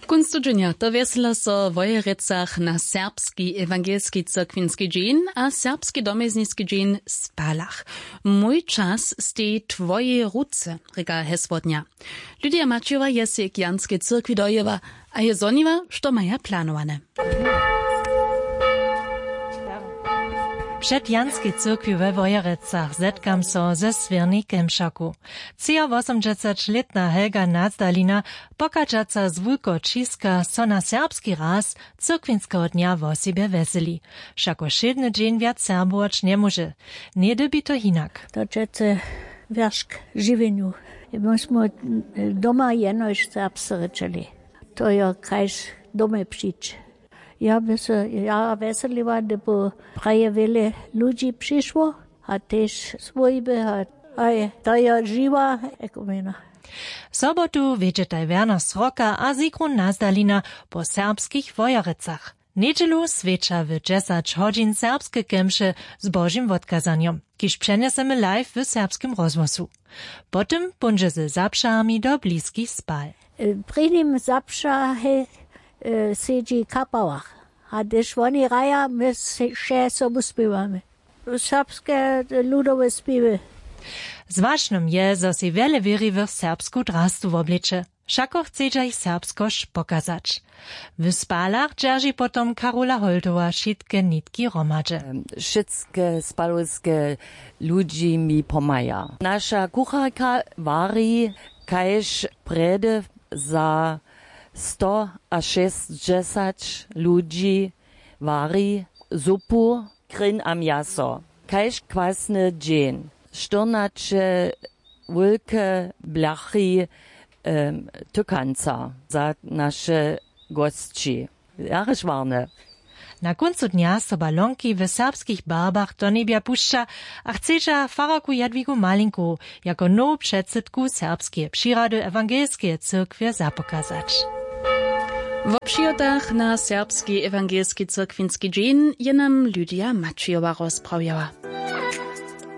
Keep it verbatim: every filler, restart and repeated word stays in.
Kónc tydźenja to wjesela so w Wojerecach na serbski ewangelski cyrkwinski dźeń a serbski domjezniski dźeń w Spalach. Mój čas steji w twojej ruce, rěka hesło dnja. Lydia Maćijowa je sej k Janskej cyrkwi dojěła a je zhoniła, što maja planowane. Před Janskej cyrkwi we Wojerecach zetkam so ze swěrnej kemšarku. Třiawosomdźesaćlětna Helga Nazdalina, pochadźaca z Wulkočiska, so na serbski raz cyrkwinskeho dnja wosebje wjeseli. Wšako wšědny dźeń wjac serbować njemóže. Něhdy bě to hinak. To přecy wjeršk žiwjenju. My smy doma jenož serbsce rěčeli. To jo kaž domje přić. Ja by se ja wjeseliła, hdyby praje wjele ludźi přišło a tež swójby a, a je, to jo žiwa ekonomija. Sobotu wědźetaj Werner Sroka a Sigrun Nazdalina po serbskich Wojerecach. Njedźelu swjeća w dźesać hodźin serbske kemše z Božim wotkazanjom, kiž přenjesemy live w Serbskim rozhłosu. Potom póńdźe ze zapšahami do bliskich Spal. Prěnim zapšahe sedźi kapałach, a hdyž woni hraja, my wše sobu spěwamy serbske ludowe spěwy. Zwažnym je, zo sej wjele wěriwych serbsku drastu wobleče. Wšako chcedźa jich serbskosć pokazać. W Spalach dźerži potom Karola Holtowa wšitke nitki hromadźe. Wšitke spalowske ludźi mi pomhaja. Naša kucharka wari kaž prjedy za stoašěsćdźesać ludźi, wari zupu, kryn a mjaso, kaž kwasny dźeń, štyrnaće wulke blachy tykanca za naše gosći. Jara šwarne. Na kóncu dnja so balonki w serbskich barbach do njebja pušća a chcedźa fararku Jadwigu Malinku jako nowu předsydku serbskeje přirady ewangelskeje cyrkwje zapokazać. Wo přihotach na serbski ewangelski cyrkwinski dźeń je nam Lydia Maćijowa rozprawjała.